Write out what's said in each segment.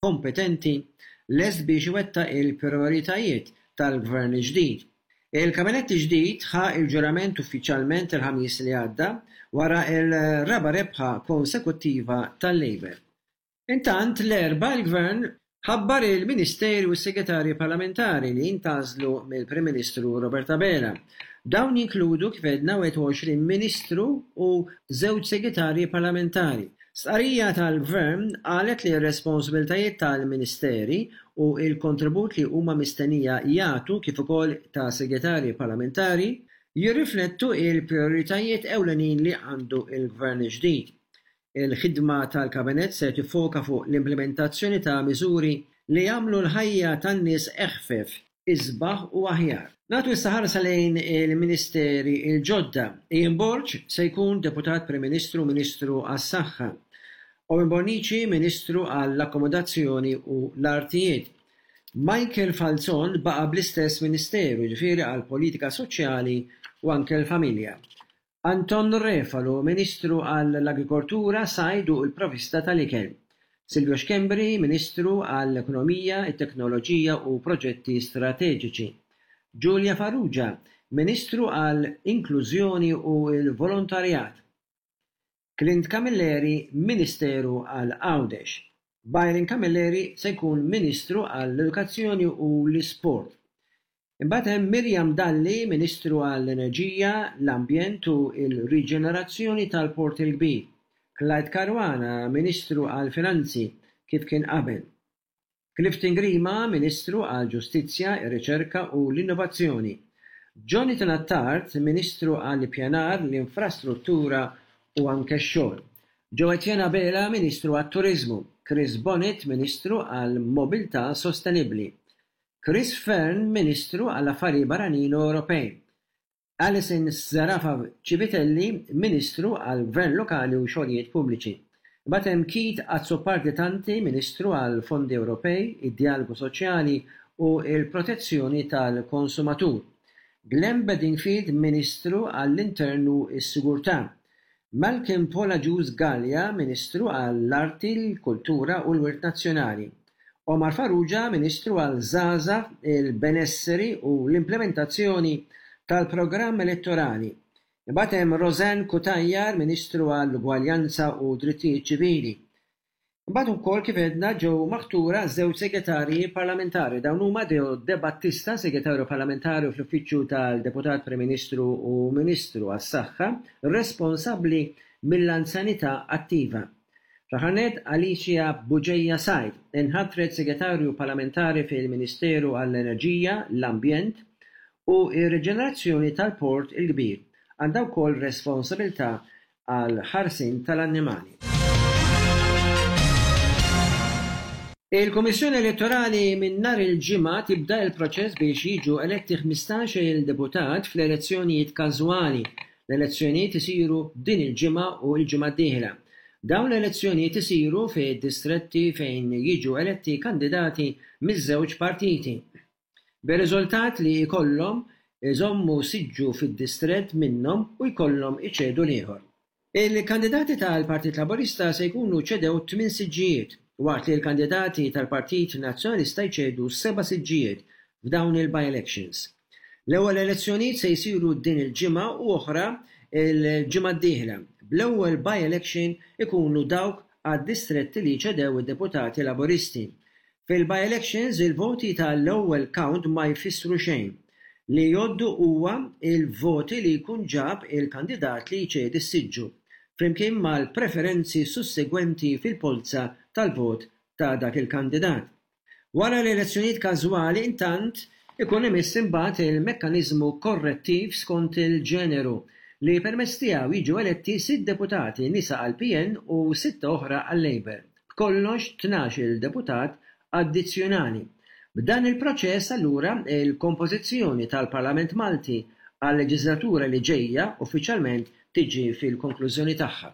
Kompetenti, lest biex iwettaq il-prijoritajiet tal-Gvern il-ġdid. Il-Kabinett il-ġdid ħa l-ġurament uffiċjalment il-Ħamis li għadda wara l-raba' rebħa konsekuttiva tal-Labour. Intant, l-Erbgħa l-Gvern ħabbar il-Ministeri u s-Segretarji Parlamentari li ntgħażlu mill-Prim Ministru Robert Abela. Dawn jinkludu, kif għedna, 21 Ministru u żewġ Segretarji Parlamentari. Stqarrija tal-Gvern qalet li r-responsabilitajiet tal-Ministeri u l-kontribut li huma mistennija jagħtu kif ukoll ta' Segretarji Parlamentari jirriflettu l-prijoritajiet ewlenin li għandu l-Gvern il-ġdid. Il-ħidma tal-Kabinett se tiffoka fuq l-implimentazzjoni ta' miżuri li jagħmlu l-ħajja tan-nies eħfef, isbaħ u aħjar. Nagħtu issa ħarsa lejn il-Ministeri l-ġodda. Ian Borg se jkun Deputat Prim Ministru u Ministru għas-Saħħa. Owen Bonnici Ministru għall-Akkomodazzjoni u l-Artijiet. Michael Falzon baqa' bl-istess Ministeru, jiġifieri għall-Politika Soċjali u anke l-Familja. Anton Refalo, Ministru għall-Agrikoltura, Sajd u l-Provvista tal-Ikel. Silvio Schembri, Ministru għall-Ekonomija, it-Teknoloġija u Proġetti Strateġiċi. Julia Farrugia, Ministru għall-Inklużjoni u l-Volontarjat. Clint Camilleri, Ministeru għal Għawdex. Byron Camilleri se jkun Ministru għall-Edukazzjoni u l-Isport. Imbagħad hemm Miriam Dalli, Ministru għall-Enerġija, l-Ambjent u l-Riġenerazzjoni tal-Port il-Kbir, Clyde Caruana, Ministru għall-Finanzi, kif kien qabel, Clifton Grima, Ministru għall-Ġustizzja, ir-Riċerka u l-Innovazzjoni, Jonathan Attard, Ministru għall-Ippjanar, l-Infrastruttura u anke x-Xogħol, Jo Etienne Abela, Ministru għat-Turiżmu, Chris Bonett, Ministru għall-Mobilità Sostenibbli, Chris Fearne, Ministru għall-Affarijiet Barranin u Ewropej, Alison Zerafa Civitelli, Ministru għall-Gvern Lokali u Xogħlijiet Pubbliċi. Imbagħad hemm Keith Azzopardi Tanti, Ministru għall-Fondi Ewropej, id-Djalogu Soċjali u l-Protezzjoni tal-Konsumatur. Glenn Bedingfield, Ministru għall-Intern u s-Sigurtà. Malcolm Paul Agius Galea, Ministru għall-Arti, l-Kultura u l-Wirt Nazzjonali, Omar Farrugia, Ministru għall-Żgħażagħ, il-Benesseri u l-Implimentazzjoni tal-Programm Elettorali. Imbagħad hemm Rosanne Cutajar, Ministru għall-Ugwaljanza u Drittijiet Ċivili. Imbagħad ukoll kif għedna ġew maħtura żewġ segretarji parlamentari. Dawn huma Deo Debattista, Segretarju Parlamentari fl-Uffiċċju tal-Deputat Prim Ministru u Ministru għas-Saħħa, responsabbli mill-anzjanità attiva. Fl-aħħar nett, Alicia Bugeja Said inħatret Segretarju Parlamentari fil-Ministeru għall-Enerġija, l-Ambjent u r-Riġenerazzjoni tal-Port il-Kbir. Għandha wkoll responsabilità għall-ħarsien tal-annimali. Il-Kummissjoni Elettorali minn nhar il-Ġimgħa tibda l-proċess biex jiġu eletti 15-il deputat fl-elezzjonijiet każwali. L-elezzjonijiet isiru din il-ġimgħa u l-ġimgħa d-dieħla. Dawn l-elezzjonijiet isiru fi distretti fejn jiġu eletti kandidati miż-żewġ partiti. Bir-riżultat li jkollhom iżommu siġġu fid-distrett minnhom u jkollhom iċedu l-ieħor. Il-kandidati tal-Partit Laburista se jkunu ċedew tmien siġġijiet, waqt li l-kandidati tal-Partit Nazzjonalista jċedu seba' siġġijiet f'dawn il-by-elections. L-ewwel elezzjonijiet se jsiru din il-ġimgħa u oħra l-ġimgħa d-dieħla, bl-ewwel by-election ikunu dawk għad-distretti li ċedew id-deputati Laburisti. Fil-by-elections il-voti ta' l-ewwel count ma jfissru xejn. Li jgħoddu huwa il-voti li jkun ġab il-kandidat li jċedi s-siġġu, flimkien mal-preferenzi sussegwenti fil-polza tal-vot ta' dak il-kandidat. Wara l-elezzjonijiet każwali intant ikun imiss imbagħad il-mekkaniżmu korrettiv skont il-ġeneru li permezz tiegħu jiġu eletti sitt deputati nisa għall-PN u sitta oħra għal-Labour. B'kollox 12-il deputat addizzjonali. B'dan il-proċess allura il-kompożizzjoni tal-Parlament Malti għal-leġiżlatura li ġejja uffiċjalment tiġi fil-konklużjoni tagħha.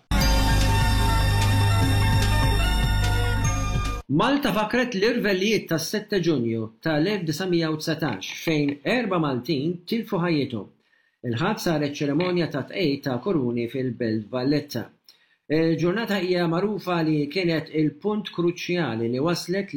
Malta fakkret l-irvellijiet tas-Sette Ġunju tal-1919 fejn erba' Maltin tilfu ħajjithom. Il-Ħadd saret ċerimonja ta' tqegħid ta' kuruni fil-Belt Valletta. Il-ġurnata hija magħrufa li kienet il-punt kruċjali li wasslet.